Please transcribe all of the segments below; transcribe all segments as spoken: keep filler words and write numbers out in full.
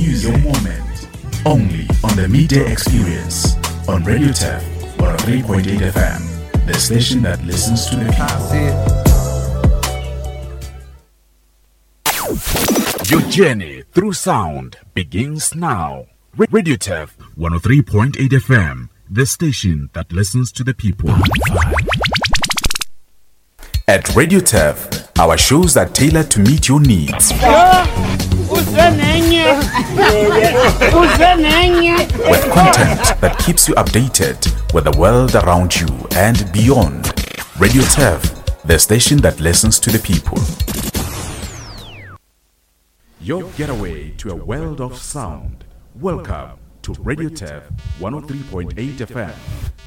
Music, your moment. Only on the Midday Experience on Radio Turf one oh three point eight F M, the station that listens to the people. Your journey through sound begins now. Radio Turf one oh three point eight F M, the station that listens to the people. At Radio Turf, our shows are tailored to meet your needs. With content that keeps you updated with the world around you and beyond. Radio Turf, the station that listens to the people. Your getaway to a world of sound. Welcome to Radio Turf one oh three point eight F M,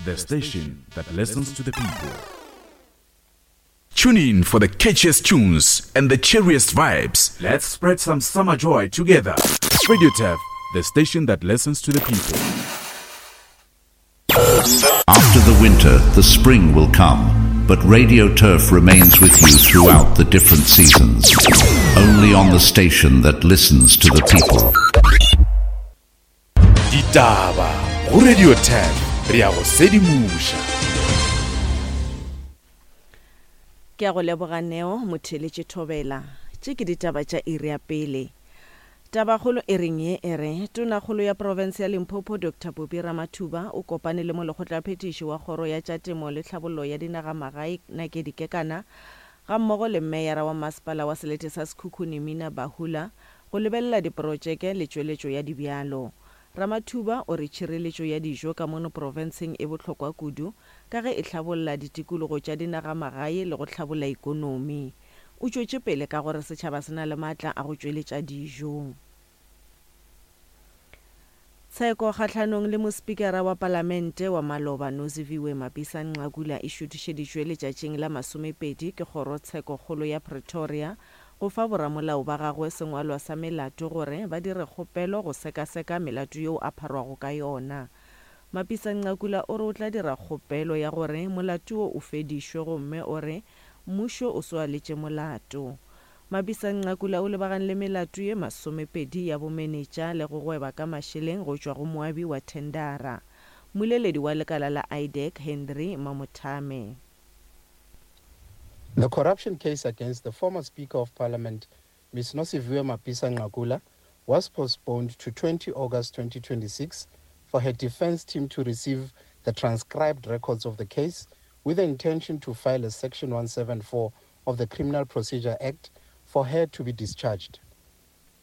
the station that listens to the people. Tune in for the catchiest tunes and the cheeriest vibes. Let's spread some summer joy together. Radio Turf, the station that listens to the people. After the winter, the spring will come, but Radio Turf remains with you throughout the different seasons. Only on the station that listens to the people. Ditaba go Radio Turf, re a go sedimoša. Ke a go leboga Neo motheletše Thobela. Tše ke ditaba tša iri ya pele. Tabakgolo e reng ye e re tonakgolo ya province ya Limpopo Doctor Phophi Ramathuba o kopane le molekgotlaphethiši wa kgoro ya tša temo le tlhabollo ya dinagamagae Nakedi Kekana ga mmogo le meyara wa masepala wa selete sa Sekhukhune Mina Bahula go lebelela diprotšeke le tšweletšo ya dibjalo. Ramathuba o re tšhireletšo ya dijo ka mono profenseng e bohlokwa kudu ka ge e hlabolla ditikologo tša dinagamagae le go hlabolla ikonomi. O tšwetše pele ka gore setšhaba se na le maatla a go tšweletša dijo. Tsheko kgahlanong le mospikara wa palamente wa maloba Nosiviwe Mapisa Nqakula e šuthišeditšwe letšatšing la masomepedi ke kgorotshekokgolo ya Pretoria go fa boramolao ba gagwe sengwalwa sa melato gore ba dire kgopelo go sekaseka melato yeo a pharwago ka yona. Mapisa Nqakula o re o tla dira kgopelo ya gore molato wo o fedišwe gomme o re mmušo o swaletše molato. Mapisa Nqakula o lebagane le melato ye masomepedi ya bomenetša le go gweba ka mašeleng go tšwa go moabi wa thendara. Mmoleledi wa lekala la I D E C Henry Mamothame. The corruption case against the former Speaker of Parliament, Miz Nosiviwe Mapisa Nqakula, was postponed to twenty August twenty twenty-six for her defense team to receive the transcribed records of the case with the intention to file a Section one seventy-four of the Criminal Procedure Act for her to be discharged.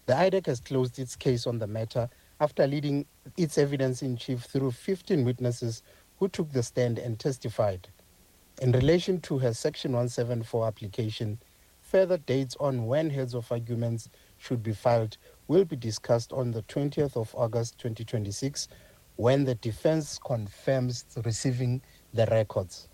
The I D E C has closed its case on the matter after leading its evidence in chief through fifteen witnesses who took the stand and testified. In relation to her Section one seventy-four application, further dates on when heads of arguments should be filed will be discussed on the twentieth of August twenty twenty-six, when the defense confirms receiving the records.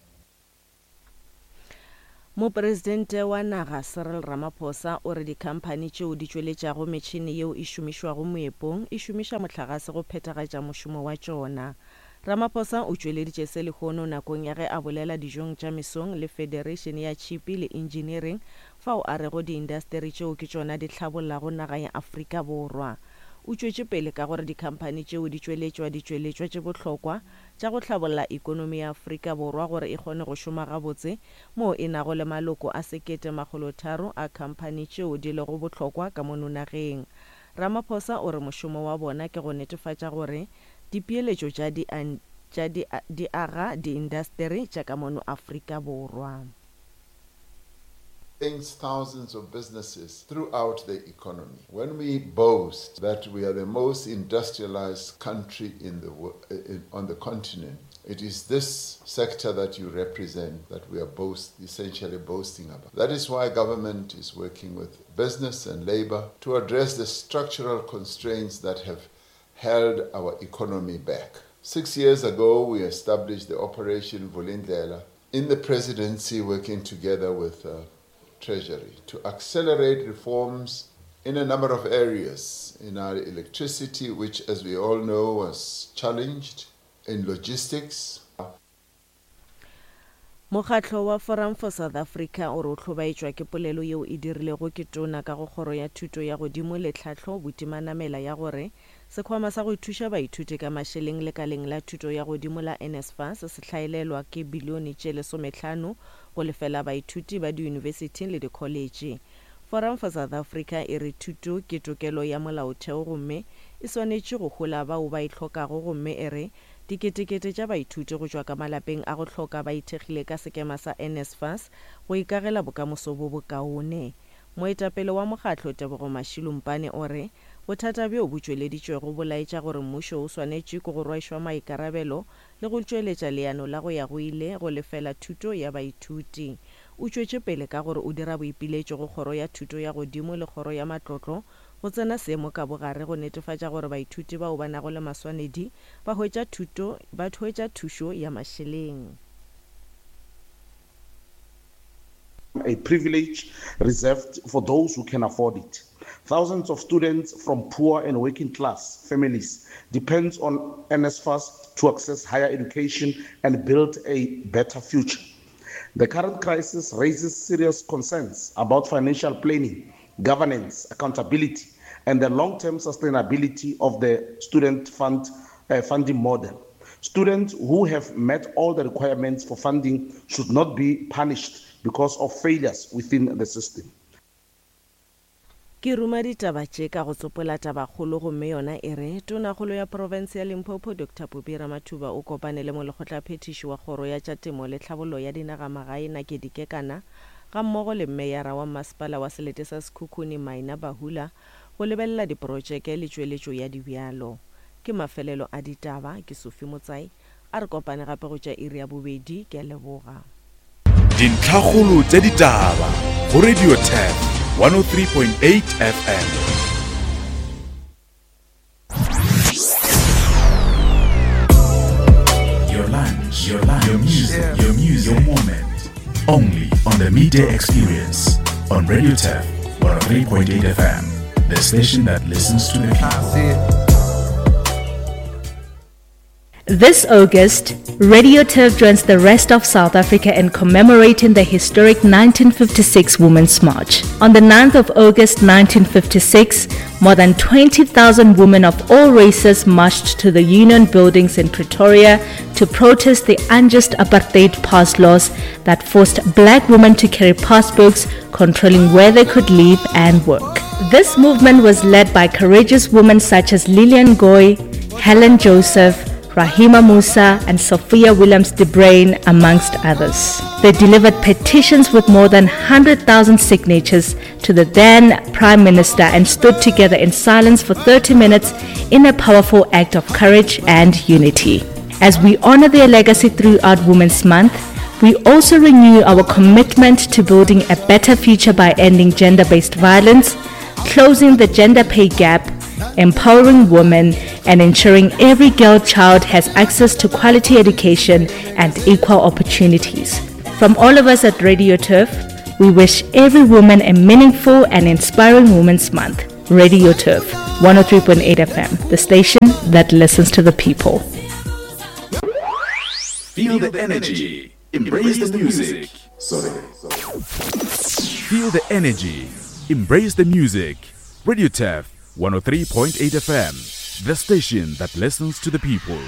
Mopresidente wa naga Cyril Ramaphosa o re dikhamphani tšeo di tšweletšago metšhene yeo e šomišwago moepong e šomiša mohlagase go phethagatša mošomo wa tšona. Ramaphosa o tšweleditše se lehono nakong ya ge a bolela dijong tša mesong le Federation ya Tšhipi le Engineering fao a rego diindasteri tšeo ke tšona di hlabollago naga ya Afrika Borwa. O tšwetše pele ka gore dikhamphani tšeo di tšweletšwa ditšweletšwa tše bohlokwa tša go hlabolla ikonomi ya Afrika Borwa gore e kgone go šoma gabotse moo e nago le maloko a sekete makgolo tharo a khamphani tšeo di lego bohlokwa ka mono nageng. Ramaphosa o re mošomo wa bona ke go netefatša gore dipeeletšo tša di tša di di aga diindasteri tša ka mono Afrika Borwa. Thousands of businesses throughout the economy. When we boast that we are the most industrialized country in the in, on the continent, it is this sector that you represent that we are boast, essentially boasting about. That is why government is working with business and labor to address the structural constraints that have held our economy back. Six years ago, we established the Operation Vulindlela in the presidency, working together with uh, Treasury to accelerate reforms in a number of areas, in our electricity, which, as we all know, was challenged, in logistics. Mokgatlo wa Forum for South Africa o re o hlobaetšwa ke polelo yeo e dirilego ke tona ka go kgoro ya thuto ya godimo le tlhahlo Buti Manamela ya gore sekhwama sa go thuša baithuti ka mašeleng lekaleng la thuto ya godimo la NSFAS se hlaelelwa ke bilione tše lesomehlano go lefela baithuti ba diyunibesithi le dikholetše. Forum for South Africa e re thuto ke tokelo ya molaotheo gomme e swanetše go hola bao ba e hlokago gomme e re diketekete tša baithuti go tšwa ka malapeng a go hloka ba ithekgile ka sekema sa NSFAS go ikagela bokamoso bo bokaone. Moetapele wa mokgatlo Tebogo Mashilumpane o re bothata bjo bo tšweleditšwego bo laetša gore mmušo o swanetše ke go rwešwa maikarabelo le go tšweletša leano la go ya go ile go lefela thuto ya baithuti. O tšwetše pele ka gore o dira boipiletšo go kgoro ya thuto ya godimo le kgoro ya matlotlo go tsena seemo ka bogare go netefatša gore baithuti bao ba nago le maswanedi ba hwetša thuto ba hwetša thušo ya mašeleng. A privilege reserved for those who can afford it. Thousands of students from poor and working class families depends on NSFAS to access higher education and build a better future. The current crisis raises serious concerns about financial planning, governance, accountability, and the long-term sustainability of the student fund, uh, funding model. Students who have met all the requirements for funding should not be punished because of failures within the system. Ke ruma ditaba tše ka go tsopola tabakgolo gomme yona e re tonakgolo ya profense ya Limpopo Doctor Phophi Ramathuba o kopane le molekgotlaphethiši wa kgoro ya tša temo le tlhabollo ya dinagamagae Nakedi Kekana ga mmogo le mmeyara wa masepala wa selete sa Sekhukhune Maina Bahula go lebelela diprotšeke le tšweletšo ya dibjalo. Ke mafelelo a ditaba, ke Sophie Motsai, a re kopane gape go tša iri ya bobedi, ke a leboga. Dintlhakgolo tša ditaba go Radio Turf one oh three point eight F M. Your lunch, your lunch, your music, your music, your moment. Only on the Midday Experience on Radio Turf one oh three point eight F M, the station that listens to the people. This August, Radio Turf joins the rest of South Africa in commemorating the historic nineteen fifty-six Women's March. On the ninth of August nineteen fifty-six, more than twenty thousand women of all races marched to the Union Buildings in Pretoria to protest the unjust apartheid pass laws that forced black women to carry passbooks controlling where they could live and work. This movement was led by courageous women such as Lillian Goy, Helen Joseph, Rahima Moosa and Sophia Williams de Bruyn, amongst others. They delivered petitions with more than one hundred thousand signatures to the then Prime Minister and stood together in silence for thirty minutes in a powerful act of courage and unity. As we honor their legacy throughout Women's Month, we also renew our commitment to building a better future by ending gender-based violence, closing the gender pay gap, empowering women, and ensuring every girl child has access to quality education and equal opportunities. From all of us at Radio Turf, we wish every woman a meaningful and inspiring Women's Month. Radio Turf, one oh three point eight F M, the station that listens to the people. Feel the energy. Embrace the music. Sorry. Feel the energy. Embrace the music. Radio Turf one oh three point eight F M, the station that listens to the people.